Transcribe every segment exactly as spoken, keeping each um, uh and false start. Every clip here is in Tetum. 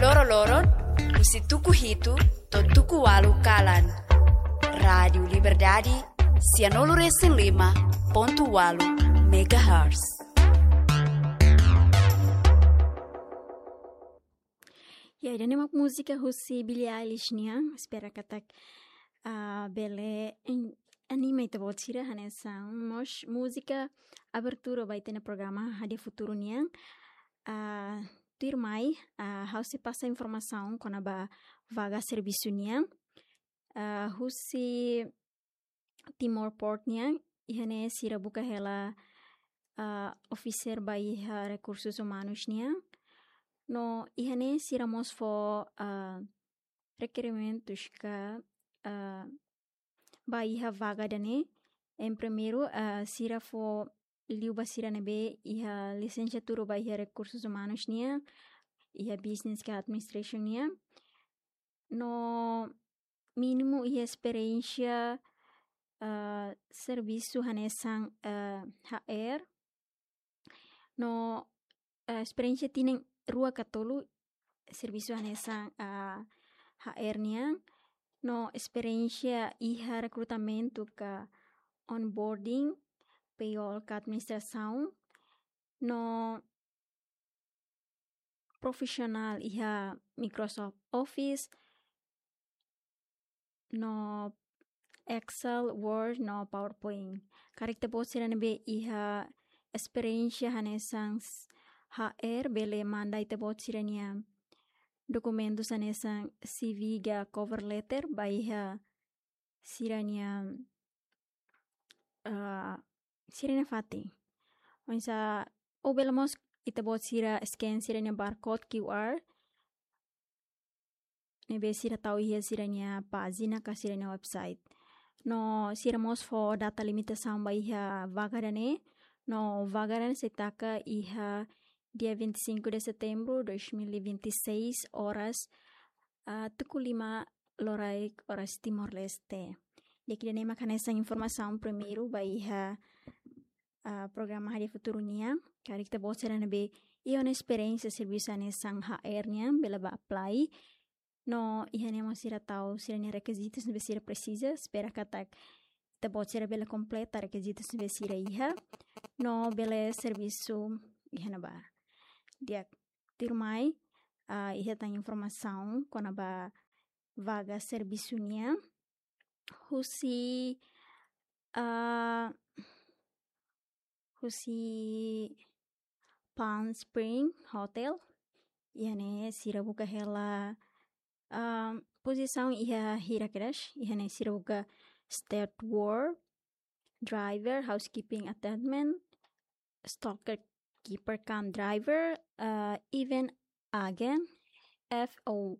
Loroloron, husi tuku hitu to'o tuku ualu kalan. Rádiu Liberdade, sianulu resin lima pontu ualu megahertz. Ya, ida-ne'e mak múzika husi Billie Eilish nian, espera katak, ah, bele en-, anima ita-boot sira hanesan mós múzika abertura ba ita-nia programa Hadi'a Futuru nian. Ah, tuirmai, ah, ha'u sei pasa informasaun kona-ba vaga servisu nian. Ah, husi Timor Port nian, iha ne'e sira buka hela, ah, officer ba iha rekursus umanus nian. No iha ne'e sira mós fó, ah, rekerimentus ka, ah, ba iha vaga ida-ne'e. Em primeiru, ah, sira fó liu ba sira ne'ebé iha lisensiatura ba iha rekursus umanus nian, iha business ka administration nian. No mínimu iha esperiénsia, ah, servisu hanesan, ah, H R. No, ah, esperiénsia tinan rua ka tolu servisu hanesan, ah, H R nian. No esperiénsia iha rekrutamentu ka onboarding, payroll ka administrasaun. No profisionál iha Microsoft Office, no Excel, Word, no PowerPoint. Karik ita-boot sira ne'ebé iha esperiénsia hanesan s-, H R bele manda ita-boot sira-nia dokumentus hanesan C V ka cover letter ba iha sira-nia, ah, sira-nia fatin. Oinsá, ou bele mós ita-boot sira scan sira-nia barcode Q R ne'ebé sira tau iha sira-nia pájina ka sira-nia website. No sira mós fó data limitasaun ba iha vaga ida-ne'e. No vaga ida-ne'e sei taka iha dia vinte e cinco de setembro dois mil e vinte e seis, oras, ah, tuku lima loraik, oras Timor-Leste. Di'ak, ida-ne'e mak hanesan informasaun primeiru ba iha, ah, programa Hadi'a Futuru nian. Karik ita-boot sira ne'ebé iha ona esperiénsia servisu hanesan H R nian, bele bá apply. No iha ne'e mós sira tau sira-nia rekizitus ne'ebé sira presiza, espera katak ita-boot sira bele kompleta rekizitus ne'ebé sira iha, no bele servisu iha ne'ebá. Di'ak, tuirmai, ah, iha tan informasaun kona-ba vaga servisu nian husi, ah, husi Palm Spring Hotel. Iha ne'e sira buka hela, ah, pozisaun iha hirak kedas. Iha ne'e sira buka steward, driver, housekeeping attendant, storekeeper cum driver, ah, event agent, F O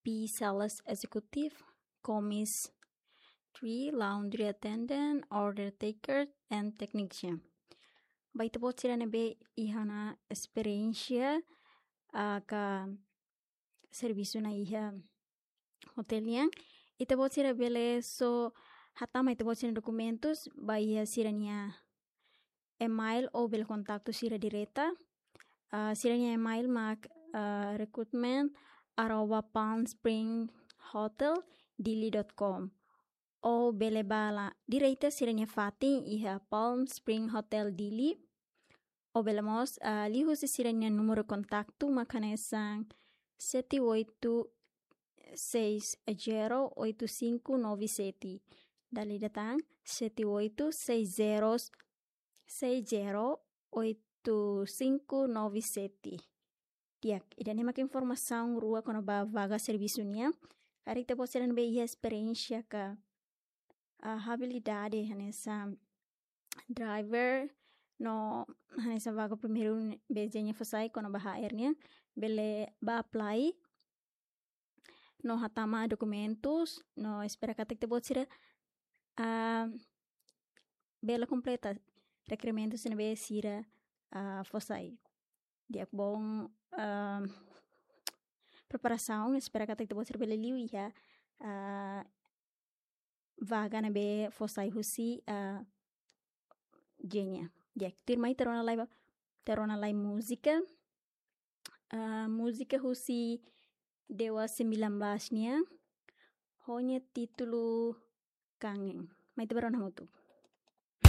B sales executive, commissary, laundry attendant, order taker, and technician. Ba ita-boot sira ne'ebé iha ona esperiénsia, ah, ka servisu ona iha hotel nian, ita-boot sira bele só hatama ita-boot sira-nia dokumentus ba iha sira-nia email ou bele kontaktu sira direta. Ah, sira-nia email mak, ah, recruitment arroba Palm Spring Hotel Dili dot com. Ou bele bá la direta sira-nia fatin iha Palm Spring Hotel Dili. Ou bele mós, ah, liuhusi sira-nia númeru kontaktu mak hanesan sete oito seis zero oito cinco nove sete. Dala ida tan, sete oito seis zero, seis zero oito cinco nove sete. Di'ak, ida-ne'e mak informasaun rua kona-ba vaga servisu nian. Karik ita-boot sira ne'ebé iha esperiénsia ka, ah, abilidade hanesan driver, no hanesan vaga primeiru ne'ebé Jenny fó sai kona-ba H R nian, bele bá apply no hatama dokumentus, no espera katak ita-boot sira, ah, bele kompleta rekerimentus ne'ebé sira, ah, fó sai. Di'ak, bom, ah, preparasaun, espera katak ita-boot sira bele liu iha, ah, vaga ne'ebé fó sai husi, ah, Jenny. Di'ak, tuirmai ita rona lai ba, ita rona lai múzika. ah, múzika husi Dewa Sembilan Belas nian, ho nia títulu Kangen. Mai ita bá rona hamutuk.